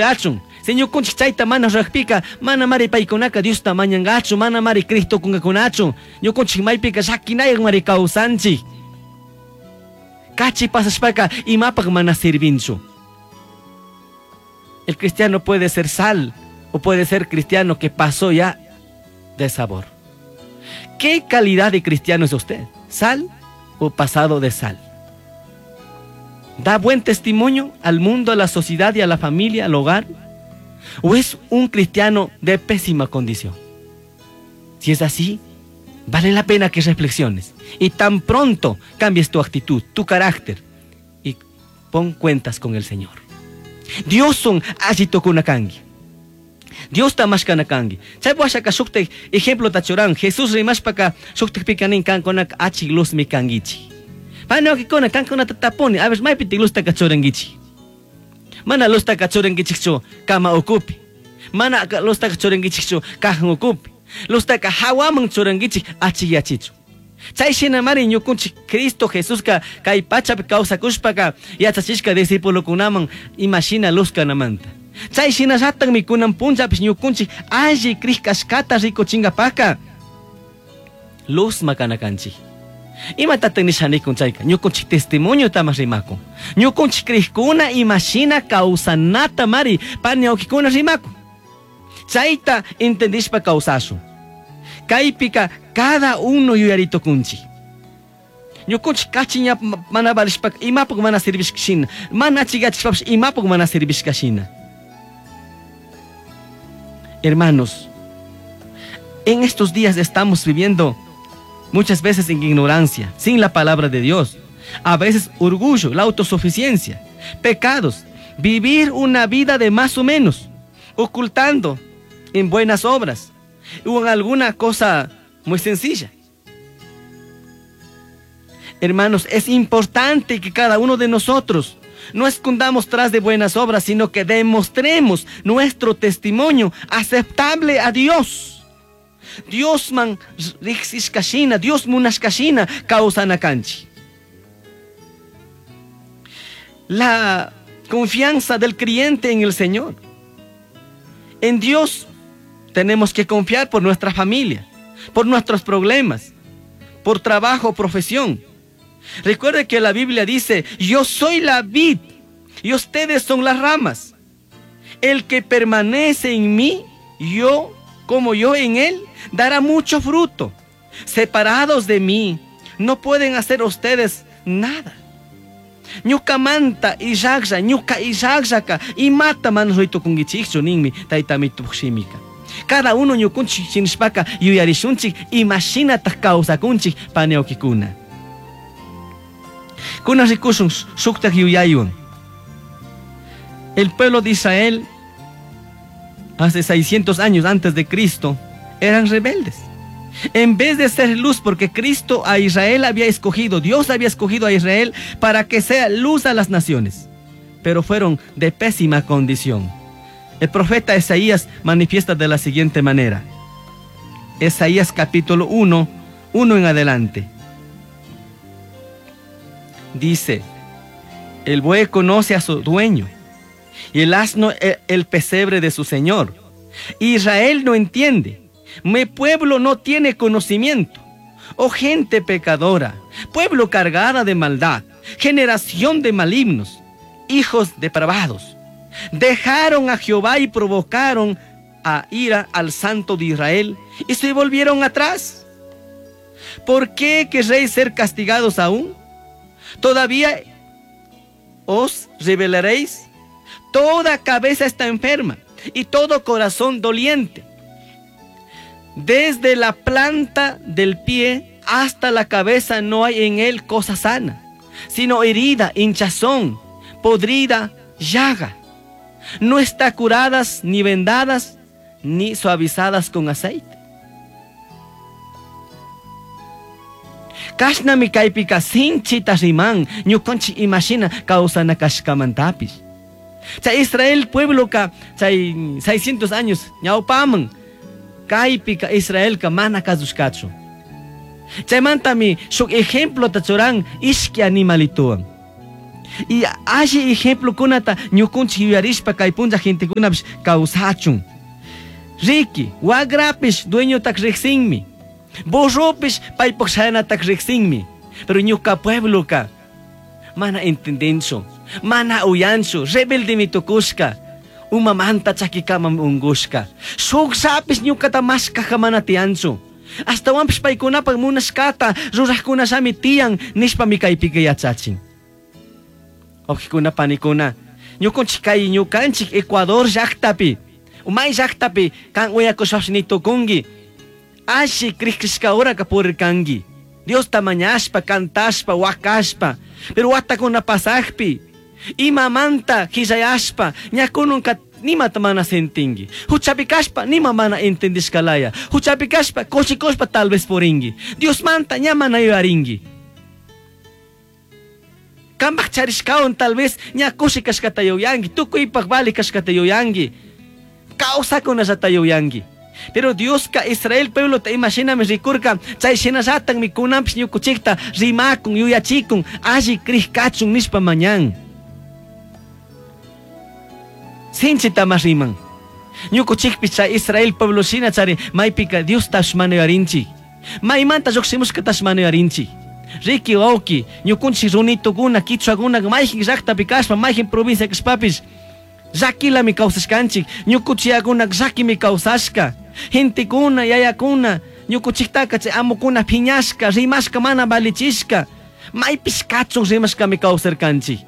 Achun. Si ñukunchik chayta mana rurajpika, manamari paykunaka Diosta mañangachu, manamari crij tukungakunachu. Ñukunchik maypika llakinayakmari kawsanchik. Kachi pasashpaka imapaq mana sirvinchu. El cristiano puede ser sal o puede ser cristiano que pasó ya de sabor. ¿Qué calidad de cristiano es usted? ¿Sal o pasado de sal? ¿Da buen testimonio al mundo, a la sociedad y a la familia, al hogar? ¿O es un cristiano de pésima condición? Si es así, vale la pena que reflexiones y tan pronto cambies tu actitud, tu carácter y pon cuentas con el Señor. Dioswan alli tucuna cangui. Diosta mashcana cangui. Chay washaka shukta ejemplo churan. Jesús rimashpaka shuktakpika nin kankunaka achik luzmi canguichik. Panokikuna kankunata tapuni, a ver, maypitik luztaka churanguichik. Mana luztaka churanguichikchu kama ukupi. Mana luztaka churanguichikchu cajan ukupi. Luztaka hawaman churanguichik achikyachichu. Chay shinamari ñukunchik Cristo Jesuska kay pachapi kawsakushpaka yachachishka discípulokunaman imashina luz kanamanta. Chay shinallatakmi kunan punllapish ñukunchik alli crij kashkata rikuchinkapaka luz makana kanchik. Imatataq nisha nikun chayka ñukunchik testimonio rimakun. Ñukunchik crijkuna imashina kawsanata mari pani wawkikuna rimakun. Chayta entendishpa kawsashun. Kaypika cada uno yuyaritukunchik. Ñukunchik kachi ña mana valishpaka imapuk mana servishka shina, mana achikachishpapish imapuk mana servishka shina. Hermanos, en estos días estamos viviendo muchas veces en ignorancia, sin la palabra de Dios. A veces orgullo, la autosuficiencia, pecados, vivir una vida de más o menos, ocultando en buenas obras o en alguna cosa muy sencilla. Hermanos, es importante que cada uno de nosotros no escondamos tras de buenas obras, sino que demostremos nuestro testimonio aceptable a Dios. Diosman rijsishka shina, Dios munashka shina kawsana kanchik. La confianza del creyente en el Señor. En Dios tenemos que confiar por nuestra familia, por nuestros problemas, por trabajo o profesión. Recuerde que la Biblia dice, yo soy la vid y ustedes son las ramas. El que permanece en mí, yo como yo en él, dará mucho fruto. Separados de mí, no pueden hacer ustedes nada. Ñukamanta illajlla, ñuka illajllaka, imata mana ruitukunguichikchu ninmi tayta Amitopak shimika. Cada uno ñukunchik shinashpaka yuyarishunchik imashinatak kawsakunchik pani wawkikuna. Kunan rikushun shuktak yuyaywan. El pueblo de Israel hace 600 años antes de Cristo eran rebeldes. En vez de ser luz, porque Cristo a Israel había escogido, Dios había escogido a Israel para que sea luz a las naciones, pero fueron de pésima condición. El profeta Isaías manifiesta de la siguiente manera. Isaías capítulo 1, 1 en adelante. Dice, el buey conoce a su dueño y el asno el pesebre de su señor. Israel no entiende, mi pueblo no tiene conocimiento. Oh gente pecadora, pueblo cargada de maldad, generación de malignos, hijos depravados. Dejaron a Jehová y provocaron a ira al Santo de Israel y se volvieron atrás. ¿Por qué querréis ser castigados aún? ¿Todavía os rebelaréis? Toda cabeza está enferma y todo corazón doliente. Desde la planta del pie hasta la cabeza no hay en él cosa sana, sino herida, hinchazón, podrida, llaga. No está curadas ni vendadas ni suavizadas con aceite. Kashnami kaypika sinchita riman ñukanchik imashina kawsana kashkamantapish. Chay Israel puebloka chay 600 años ñawpaman kaypika Israelka mana kasushkachu. Chaymantami shuk ejemplota churan ishki animalituwan. Y alli ejemplokunata ñukunchik yuyarishpa kay punlla gentekunapish kawsachun. Riki, wagrapish dueñotak riqsinmi. Burropish paypaq shayanatak riqsinmi. Pero ñuka puebloka mana entendinchu, mana uyanchu, rebeldemi tukushka. Umamanta chakikamam ungushka. Shukllapish ñukata mashkaja mana tiyanchu. Ashtawanpish paykunapak munashkata rurajkunallami tiyan nishpami kaypika yachachin. Wawqikuna panikuna, ñukunchik kay ñukanchik Ecuador llaktapi, may llaktapi kan uyakushpapish ni tukunki. Alli crishka horaka purirkanki. Diosta mañashpa, cantashpa, wakashpa. Pero watakuna pasakpi, imamanta hillayashpa, ña kununka nimata mana sentinki. Huchapi kashpa, nima mana entendishkalaya. Huchapi kashpa, kushikushpa tal vez purinki. Diosmanta ña mana yuyarinki. Kambaj charishkawan tal vez ña kushi kashkata yuyanki, tukuypaj vali kashkata yuyanki, kawsakunallata yuyanki. Pero Dioska Israel pueblota ima shinami rikurka, chay shinallatakmi kunanpish ñukuchikta rimakun, yuyachikun, alli crij kachun nishpa mañan. Sinchita mas riman. Ñukuchikpish chay Israel pueblo shina chari maypika Diostash mana yuyarinchik. Maymanta llukshimushkatash mana yuyarinchik. Riki wawki, ñukunchik runitukuna, kichwakuna, mayjin llaktapi kashpa, mayjin provincia kashpapish, llakilami kawsashkanchik, ñukuchiyakuna llakimi kawsashka. Gentekuna, yayakuna, ñukuchiktaka chay amukuna phiñashka, rimashka mana valichishka, maypish kachun rimashkami kawsarkanchik.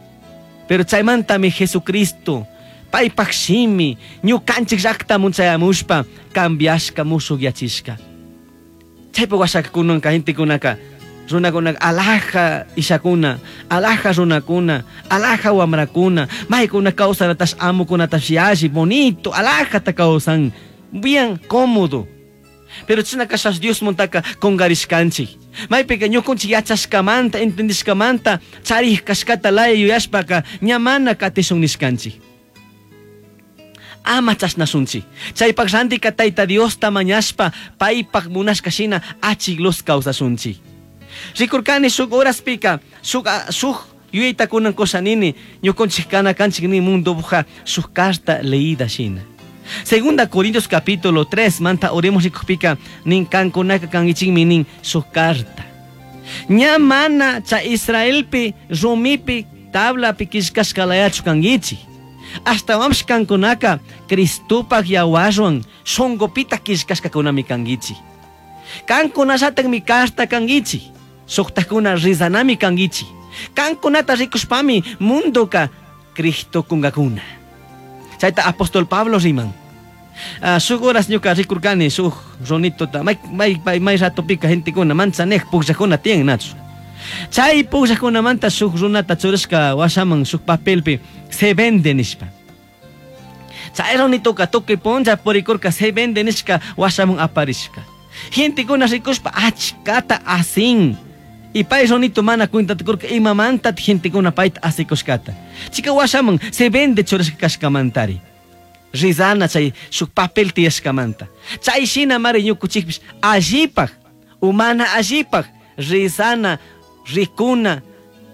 Pero chaymantami Jesucristo, paypak shimi, ñukanchik llaktamun chayamushpa, cambiashka, mushukyachishka. Chaypa washaka kunanka gentekunaka, runakunaka alaja ishakuna, alaja runakuna, alaja wamrakuna, maykuna kawsanatash amukunatash yalli, bonito, alajata kawsan, bien cómodo. Pero chashna kashash Diosmuntaka kungarishkanchik. Maypika ñukunchik yachashkamanta, entendishkamanta, charij kashkata laya yuyashpaka, ña mana katishun nishkanchik. Ama chashnashunchik. Chaypak rantika Tayta Diosta mañashpa, paypak munashka shina achik luz kawsashunchik. Rikurkani shuk horaspika, shuk yuyayta kunan kushanini, ñukunchik kana kanchik ni mundopuja shuk carta leída shina. Segunda Corintios capítulo 3, manta oremos rikukpika, nin kankunaka kankichikmi nin shuk carta. Ña mana cha Israelpi, rumipi, tablapi killkashkalayachu kankichik. Ashtawanpish kankunaka Cristopak yawarwan shunqupita killkashkakunami kankichik. Kankunallatakmi carta kankichik. Shuktakuna rizanami kankichik. Kankunata rikushpami mundoka Cristo kunkakuna. Chayta apóstol Pablo riman. Shuk horas ñuka rikurkani shuk runituta, may, may, may, may ratopika gentekuna manchanej pukllakuna tiyan nachu. Chay pukllakunamanta shuk runata churashka washaman shuk papelpi se vende nishpa. Chay runituka tukuy punlla purikurka se vende nishka washaman aparishka. Gentekuna rikushpa achkata asin. Y pay runito mana cuentata kurka imamanta gentekuna payta asikushkata. Chika washaman se vende churashka kashkamantari. Rizana chay shuk papel tiyashkamanta. Chay shina mari ñukuchikpish allipaj, umana allipaj, rizana, rikuna,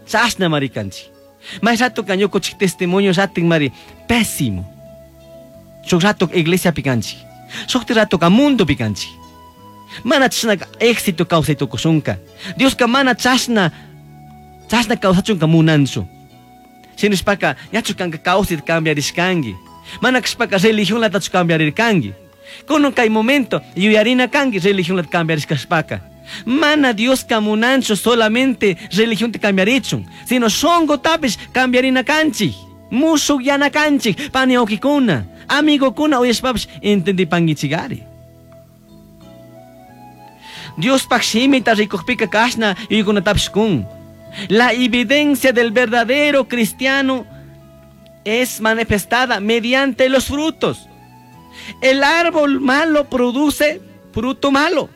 chashna mari kanchik. May ratoka ñukuchik testimonio ratin mari pésimo. Shuk rato iglesia pikanchik. Shuk ratoka mundo pikanchik. Mana chashna éxito kawsay tukushunka. Dioska mana chashna, chashna kawsachunka munanchu. Shinashpaka ñachu kanka kawsayta cambiarishkanki. Mana kashpaka religionlatachu cambiarirkanki. Kunan kay momento yuyarina kanki religionlata cambiarishkashpaka. Mana Dioska munanchu solamente religionta cambiarichun, sino shunqutapish cambiarina kanchik. Mushukyana kanchik, pani wawqikuna, amigokuna uyashpapish entendipankichikari. Diospaj shimita rikukpika kashna yuyaykunatapish kun. La evidencia del verdadero cristiano es manifestada mediante los frutos. El árbol malo produce fruto malo,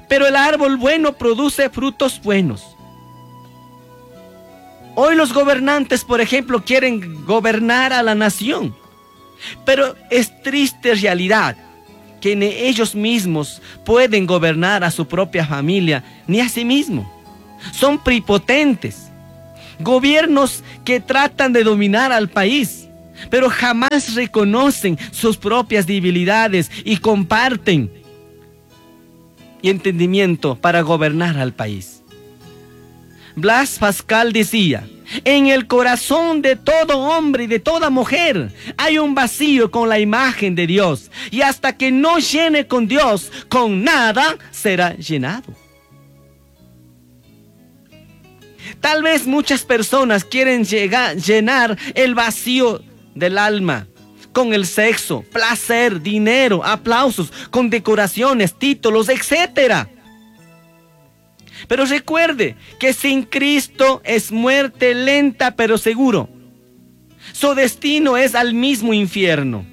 pero el árbol bueno produce frutos buenos. Hoy los gobernantes, por ejemplo, quieren gobernar a la nación, pero es triste realidad que ni ellos mismos pueden gobernar a su propia familia, ni a sí mismos. Son prepotentes. Gobiernos que tratan de dominar al país, pero jamás reconocen sus propias debilidades y comparten y entendimiento para gobernar al país. Blas Pascal decía, en el corazón de todo hombre y de toda mujer hay un vacío con la imagen de Dios, y hasta que no llene con Dios, con nada será llenado. Tal vez muchas personas quieren llenar el vacío del alma con el sexo, placer, dinero, aplausos, con decoraciones, títulos, etcétera. Pero recuerde que sin Cristo es muerte lenta pero seguro. Su destino es al mismo infierno.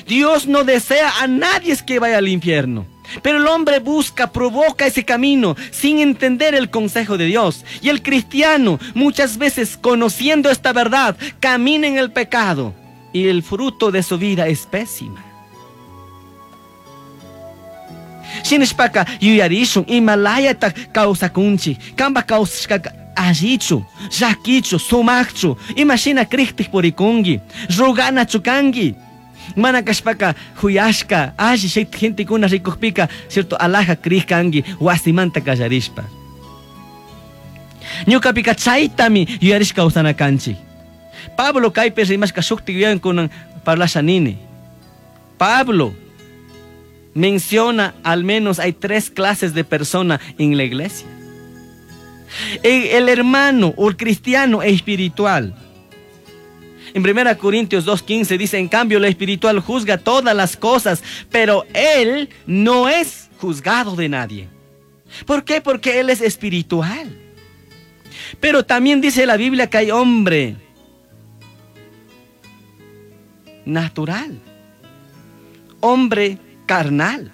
Dios no desea a nadie que vaya al infierno. Pero el hombre busca, provoca ese camino sin entender el consejo de Dios. Y el cristiano, muchas veces conociendo esta verdad, camina en el pecado. Y el fruto de su vida es pésima. Shinashpaka yuyarishun imalayata kawsakunchik, kanpa kawsashkaka allichu, llakichu, sumakchu, imashina kriktik purikunki, ruganachu kanki. Mana kashpaka huyashka, alli gentekuna rikukpika, cierto, alhaja krik kanki, wasimanta kallarishpa. Ñukapika chaytami yuyarishka kawsana kanchik. Pablo kaypi rimashka shuktik yuyankunan parlasha nini. Pablo menciona al menos hay 3 clases de personas en la iglesia. El hermano o el cristiano espiritual. En 1 Corintios 2:15 dice, en cambio el espiritual juzga todas las cosas, pero él no es juzgado de nadie. ¿Por qué? Porque él es espiritual. Pero también dice la Biblia que hay hombre natural, hombre carnal.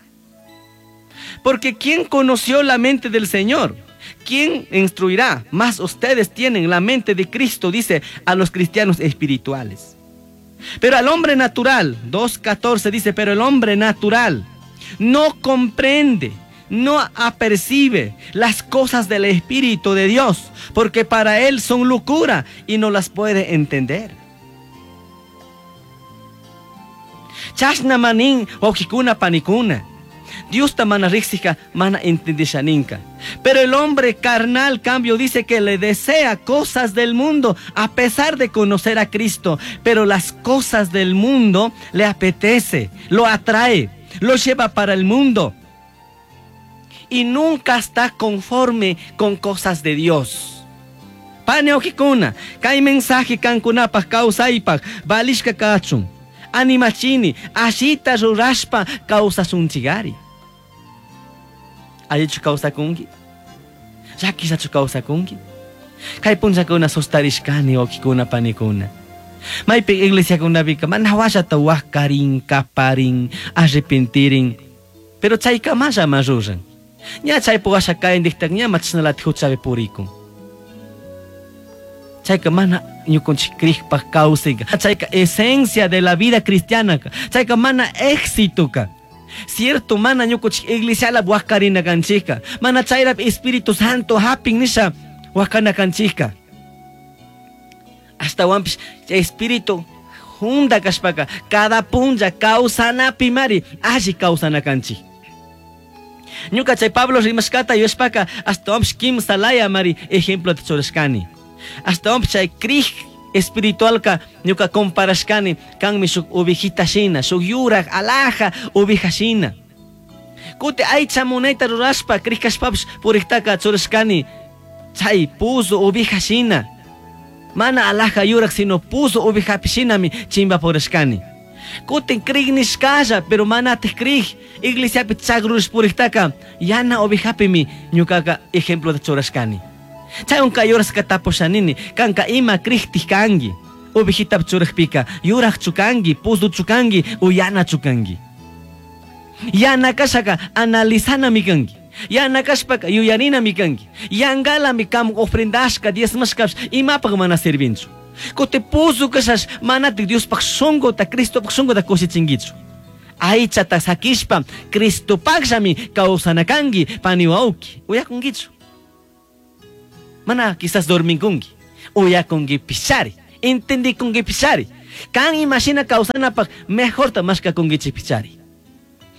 Porque ¿quién conoció la mente del Señor? ¿Quién instruirá? Mas ustedes tienen la mente de Cristo, dice a los cristianos espirituales. Pero al hombre natural, 2:14 dice, pero el hombre natural no comprende, no apercibe las cosas del Espíritu de Dios, porque para él son locura y no las puede entender. Chashna manin wawqikuna panikuna. Dios ta mana riksika, mana entendishaninka. Pero el hombre carnal, cambio, dice que le desea cosas del mundo, a pesar de conocer a Cristo. Pero las cosas del mundo le apetece, lo atrae, lo lleva para el mundo. Y nunca está conforme con cosas de Dios. Pane wawqikuna, kay mensaje kankunapaj kawsaypaj, valishka kachun. Animachini, allita rurashpa kawsasunchigari. Allichu kawsakunki? Llakishachu kawsakunki? Kay punllakuna sustarishkani wawqikuna panikuna. Maypi iglesiakunapika mana wallata wakarin, kaparin, arrepentirin. Pero chaykamalla ma ruran. Ña chaypi washa kayndiktak ña machashnalatik huchapi purikun. Chayka mana ñukanchik krikpak kawsayka. Chayka esencia de la vida cristiana. Chayka mana éxito ka. Cierto, mana ñukanchik iglesiala wakarina kanchika. Mana chayrap Espíritu Santo hapin nisha wakana kanchika. Ashtawanpish chay Espíritu junda kashpaka cada punlla kawsanapi mari alli kawsana kanchik. Ñuka chay Pablo rimashkata yuyashpaka ashtawanpish kimsa laya mari ejemplo churashkani. Ashtawanpish chay krij espiritualka ñuka comparashkani kanmi shuk ovejita shina, shuk yurak alhaja oveja shina. Kuti aycha munayta rurashpa krij kashpapish puriktaka churashkani chay puzo oveja shina. Mana alhaja yurak sino puzo ovejapi shinami chimba purashkani. Kutin krij nishkalla, pero manatik krij iglesiapi chagrush puriktaka yana ovejapimi ñukaka ejemplo de churashkani. Chay unka yuraska tapushanini, kanka ima kriktik kanki. Ovejita churajpika, yuraj chukanki, puzu chukanki, o yana chukanki. Yana kashaka analizanami kanki. Yana kashpaka yuyarinami kanki. Yangalami kam ofrendashka, diezmashkapish, imapaj mana servinchu. Kuti puzu kashash, manatik Diospaj shunguta, Cristopaj shunguta kushichinkichu. Aychata sakishpa, Cristopajllami kawsana kanki, pani wawki, uyakunkichu. Mana quizás dorminkunki. Uyakunguipishari, entendicunguipishari. Kan imashina kawsanapaq mejorta mashkakunguichikpichari.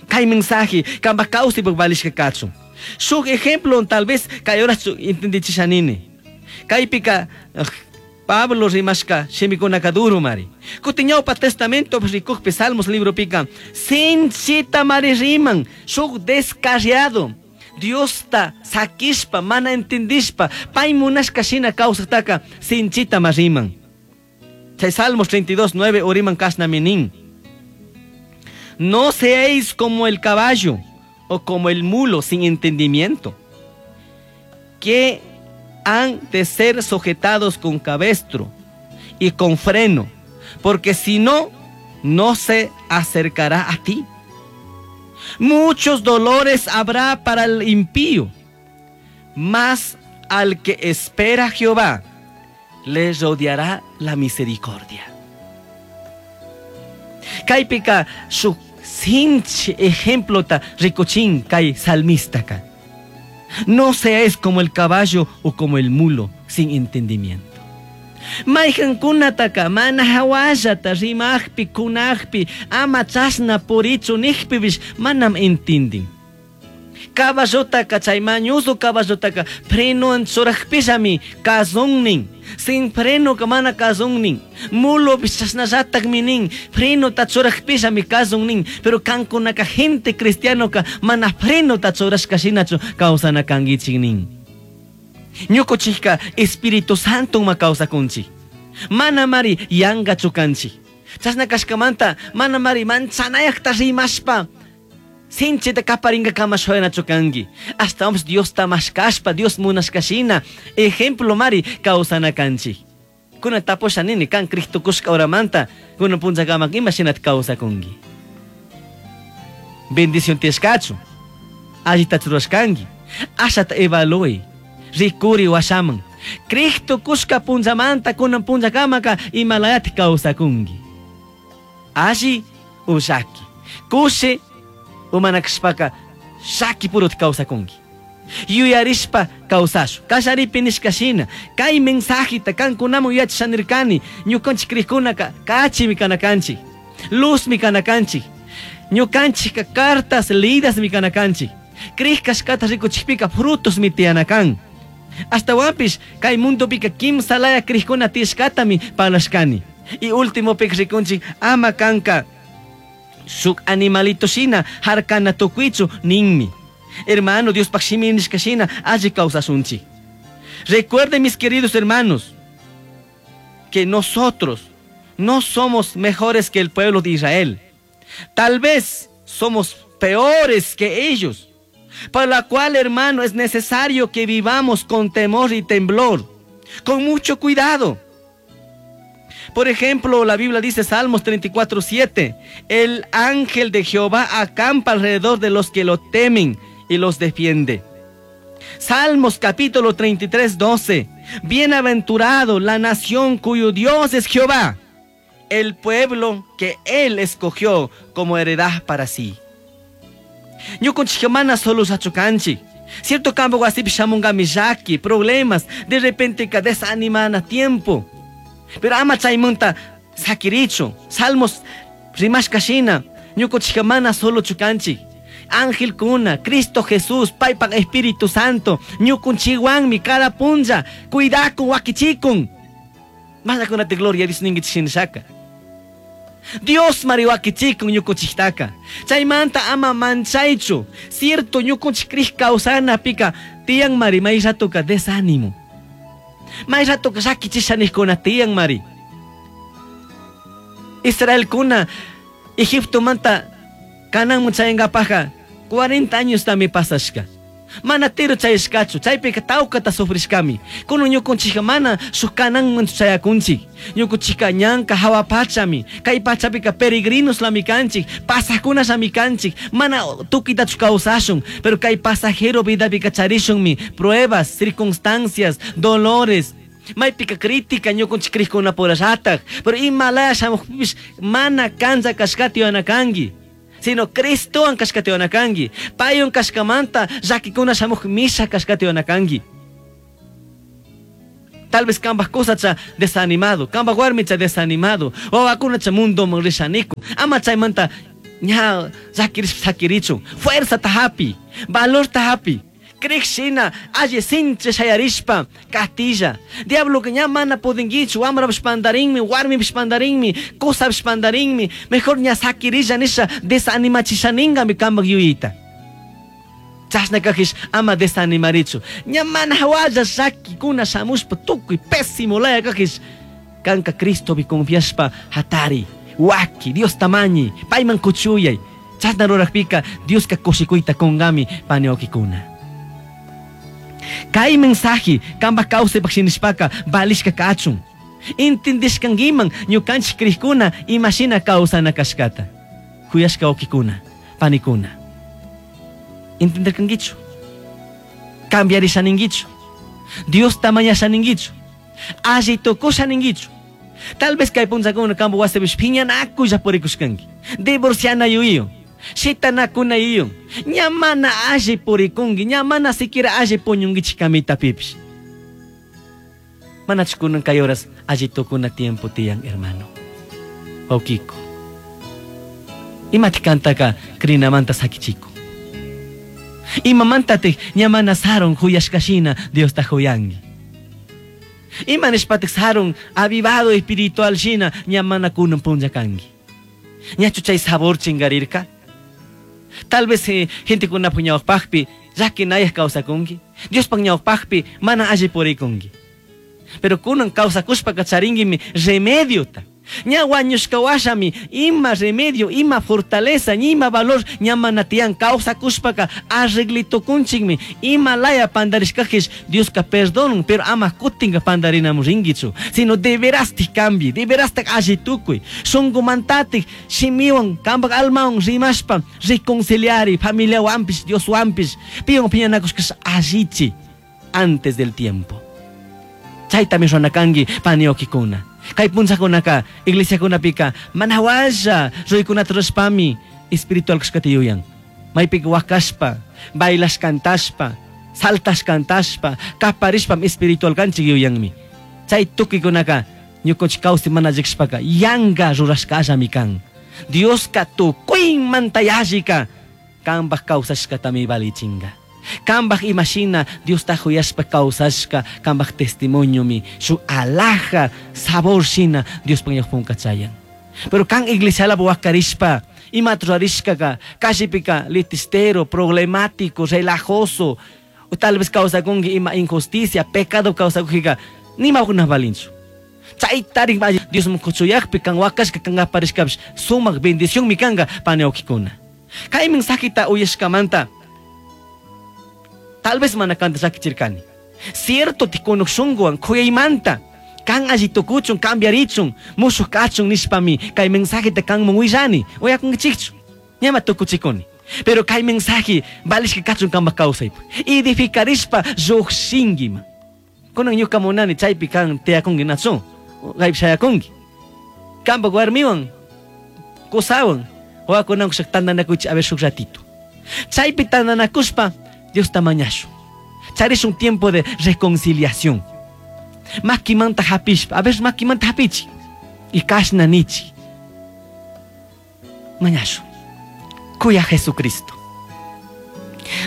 Kay mensaje kanpaj kawsaypaj valishka kachun. Shuk ejemplo tal vez kay horas entendichishanini. Kaypika Pablo rimashka shimikunaka duro mari. Kutin ñawpa Testamento rikukpi Salmos libropika sinchita mari riman shuk descarriado. Diosta sakishpa mana entendishpa pay munashka shina kawsajtaka sinchita ma riman. Chay Salmos 32, 9 uriman kashnami nin. No seáis como el caballo o como el mulo sin entendimiento, que han de ser sujetados con cabestro y con freno, porque si no, no se acercará a ti. Muchos dolores habrá para el impío, mas al que espera a Jehová le rodeará la misericordia. Kaypika shuk sinchi ejemplota rikuchin kay salmistaka. No seáis como el caballo o como el mulo sin entendimiento. Mayqankunataka mana hawallata rimajpi kunajpi ama chashna purichu nijpipish manam entendin. Caballotaka chay mañuzo caballotaka frenowan churajpishami kazunnin. Sin frenoka mana kazunnin. Mulopish chashnallatakmi nin frenota churajpishami kazunnin. Pero kankunaka gente cristianoka mana frenota churashka shinachu kawsana kankichik nin. Ñukuchikka Espíritu Santo ma kawsakunchik. Mana mari yankachu kanchik. Chashna kashkamanta mana mari manchanayakta rimashpa sinchita kaparingakama shuyanachu kanki. Ashtawanpish Diosta mashkashpa, Dios munashkashina ejemplo mari kawsana kanchik. Kunan tapusha nini kan Cristo kushka horamanta kunan punllakaman ima shinata kawsakunki. Bendición tiyashkachu, allitachu rurashkanki, ashata evaluy, rikuri washaman. Cristo kushka punllamanta kunan punllakamaka imalayati kawsakunki. Alli o llaki, kushi o mana kashpaka llaki purota kawsakunki. Yuyarishpa kawsashu. Kallaripi nishka shina, kay mensajeta kankunaman yachashanirkani, ñukanchik crikkunaka kachimi kana kanchik, luzmi kana kanchik, ñukanchikka cartas leídasmi kana kanchik, crij kashkata rikuchikpika frutosmi tiyana kan. Ashtawanpish kay mundopika kimsa laya crijkuna tiyashkatami parlashkani. Y últimopika rikunchik ama kanka shuk animalito shina harkana tukuychu ninmi. Hermano, Diospaj shimi nishka shina alli kawsashunchik. Recuerden, mis queridos hermanos, que nosotros no somos mejores que el pueblo de Israel. Tal vez somos peores que ellos. Para la cual, hermano, es necesario que vivamos con temor y temblor, con mucho cuidado. Por ejemplo, la Biblia dice, Salmos 34, 7, el ángel de Jehová acampa alrededor de los que lo temen y los defiende. Salmos capítulo 33, 12, bienaventurado la nación cuyo Dios es Jehová, el pueblo que él escogió como heredad para sí. Ñukunchik mana solo sachukanchik. Cierto campo wasipi shamunkami llaki, problemas, de repente ka desanimana tiempo. Pero ama chaymunta sakirichu. Salmos rimashka shina, ñukunchik mana solo chukanchik. Ángel kuna, Cristo Jesús, paypak Espíritu Santo, ñukunchikwanmi cada punlla, cuidakun, wakichikun. Mañakunati gloria Dios ninkichik shinashaka. Dios mari wakichikun ñukunchiktaka. Chaymanta ama manchaychu. Cierto ñukunchik crij kawsanapika tiyan mari may ratoka desánimo. May ratoka llakichishanikuna tiyan mari. Israelkuna Egiptomanta Canaanman chayankapajka 40 años tami pasashka. Mana tiro chayashkachu, chaypika tawkata sufrishkami. Kunan ñukunchikka mana shuk Canaanman chayakunchik. Ñukunchikka ñanka hawa pachami. Kay pachapika peregrinos lami kanchik, pasajkunallami kanchik. Mana tukuytachu kawsashun, pero kay pasajero vidapika charishunmi pruebas, circunstancias, dolores. Maypika crítica ñukunchik crijkunapurallatak, pero imalaya shamukpipish mana kanlla kashkata yuyanakanki. Sino Cristowan kashkata yuyanakanki. Paywan kashkamanta llakikuna shamuj misha kashkata yuyanakanki. Tal vez cambaj cusacha desanimado, cambaj warmicha desanimado, wawakunacha mundoman rishanikun. Ama chaymanta ña llakirishpa sakirichun. Fuerzata hapi, valorta hapi. Crij shina alli sinchi shayarishpa catilla. Diabloka ña mana pudinguichu, wamrapish pandarinmi, warmipish pandarinmi, cusapish pandarinmi, mejor ña sakirilla nisha desanimachishaningami cambaj yuyayta. Chashna kajish ama desanimarichu. Ña mana hawalla llakikuna shamushpa tukuy pésimo laya kajish kanka Cristopi confiashpa hatari, waki, Diosta mañi, payman kuchuyay. Chashna rurajpika Dioska kushikuyta kungami pani wawkikuna. Kay mensaje kambaj kawsaypaj shinishpaka valishka kachun. Intindishkankiman ñukanchik crijkuna imashina kawsana kashkata. Kuyashka wawkikuna, panikuna. Entenderkankichu? Cambiarishaninkichu? Diosta mañashaninkichu? Alli tukushaninkichu? Tal vez kay punllakuna kampak wasipish phiñanakulla purikushkanki. Divorciana yuyiwan, shitanakuna yuyiwan. Ña mana alli purikunki, ña mana siquiera alli puñunkichik camitapipish. Manachu kunan kay horas alli tukuna tiempo tiyan, hermano. Wawkiku. Imatik kantaka crinamanta sakichiku. Imamantatik ña mana sarun juyashkashina Diosta juyanki. Ima nishpatik sarun avivado espiritual shina ña mana kunan punlla kanki. Ñachu chay sabor chingarirka? Tal vez gentekunapuk ñawpakpi llakinayaj kawsakunki. Diospaj ñawpakpi mana alli purikunki. Pero kunan kawsakushpaka charinguimi remediota. Ña wañushka washami ima remedio, ima fortaleza, ima valor ña mana tiyan kawsakushpaka arreglitukunchikmi. Ima laya pandarishkajish Dioska perdonun, pero ama kutinka pandarinamun rinkichu. Sino de verastik cambie, de verastik alli tukuy. Shunkumantatik shimiwan, kampak almawan rimashpa reconciliari, familiawanpish, Dioswanpish, piwan piñanakushkash allichi antes del tiempo. Chaytami runakanki pani wawkikuna. Kay punllakunaka iglesiakunapika mana walla ruykunata rurashpami espiritual kashkata yuyan. Maypika wakashpa, bailash cantashpa, saltash cantashpa, kaparishpam espiritual kanchik yuyanmi. Chay tukuykunaka ñukanchik kawsay mana llikshpaka yanka rurashkallami kan. Dioska tukuymanta yallika kanpak kawsashkatami valichinka. Kanpak imashina Diosta juyashpa kawsashka kanpak testimoniomi shuk alhaja sabor shina Diospaj ñawpaman chayan. Pero kan iglesialapi wakarishpa imata rurarishkaka callipika litistero, problemático, relajoso, o tal vez kawsakunki ima injusticia, pecado kawsakujika nima kuna valinchu. Chaytarik Diosman kuchuyakpi kan wakashka kan aparishkapish sumak bendicionmi kanka pani wawkikuna. Kay mensajeta uyashkamanta tal vez mana kanta llakichirkani. Cierto tikunuk shunkuwan kuyaymanta kan alli tukuchun cambiarichun mushuk kachun nishpami kay mensajeta kanman willani uyakunkichikchu ñama tukuchikuni. Pero kay mensaje valishka kachun kanpak kawsaypi edificarishpa llukshinkiman. Kunan ñuka munani chaypi kan tiyakunki nachu kaypi shayakunki. Kanpak warmiwan kusawan wawakunawan shuk tantanakuychik a ver shuk ratito. Chaypi tantanakushpa Diosta mañashun. Charishun tiempo de reconciliación. Makimanta hapishpa, a ver makimanta hapichik. Y kashna nichik. Mañashun. Kuya Jesucristo.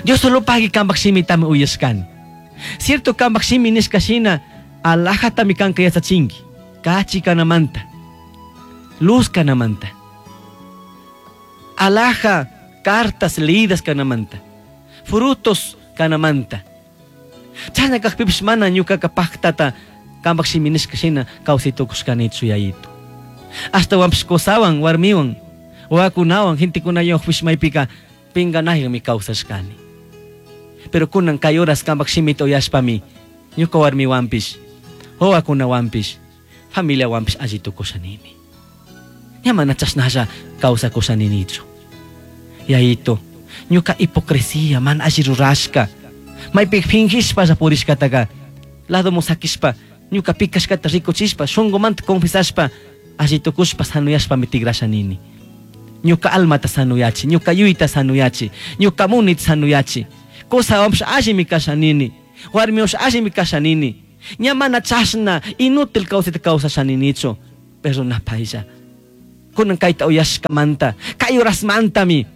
Dios solo pagui kanpak shimitami uyashkani. Cierto kanpak shimi nishka shina alhajatami kanka yachachinki. Kachi kanamanta. Luz kanamanta. Alhaja cartas leídas kanamanta. Frutos kanamanta. Chashna kajpipish mana ñukaka paktata kanpak shimi nishka shina kawsay tukushkanichu yayitu. Ashtawanpish kusawan, warmiwan, wawakunawan, gentekunawanpish maypika pinganaywanmi kawsashkani. Pero kunan kay horas kanpak shimita uyashpami ñuka warmiwanpish, wawakunawanpish, familiawanpish alli tukushanini. Ña mana chashnalla kawsakushaninichu. Yayitu, ñuka hipocresía mana alli rurashka, maypi fingishpalla purishkataka ladoman sakishpa ñuka pikashkata rikuchishpa shunkumanta confesashpa alli tukushpa sanuyashpami tigrashanini. Ñuka almata sanuyachi, ñuka yuyta sanuyachi, ñuka munita sanuyachi. Kusawanpish allimi kashanini, warmiwanpish allimi kashanini. Ña mana chashna inútil kawsayta kawsashaninichu. Perdonapaylla. Kunan kayta uyashkamanta, kay horasmantami.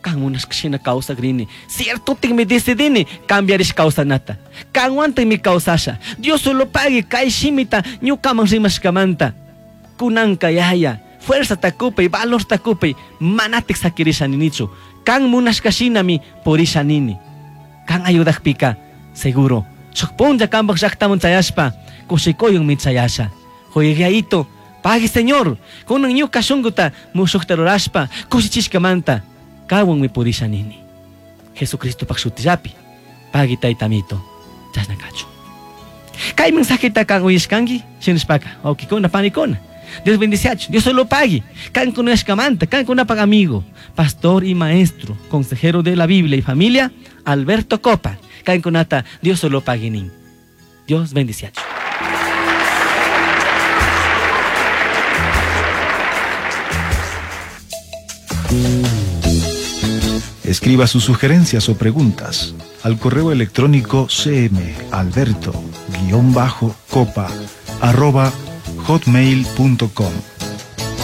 Kan munashka shina kawsakrini. Ciertotikmi decidini cambiarish kawsanata. Kanwantikmi kawsasha. Dios solo pagui kay shimita ñukaman rimashkamanta. Kunanka yaya, fuerza takupay, valor takupay, manatik sakirishaninichu. Kan munashka shinami purishanini. Kan ayudakpika, seguro. Shuk punlla kanpak llaktaman chayashpa, kushikuyunmi chayasha. Huyayito, pagui Señor, kunan ñuka shunkuta mushukta rurashpa, kushichishkamanta, kawanmi purishanini. Jesucristopak shutillapi, pagui taytamito, chashna kachun. Kay mensajeta kan uyashkanki, shinashpaka, wawkikuna, panikuna. Dios bendiciachu, Dios solo pagui. Kan kunashkamanta, kan kunapak amigo, pastor y maestro, consejero de la Biblia y familia, Alberto Copa. Kan kunata, Dios solo pagui nin. Dios bendiciachu. Escriba sus sugerencias o preguntas al correo electrónico cmalberto guión bajo copa arroba hotmail punto com.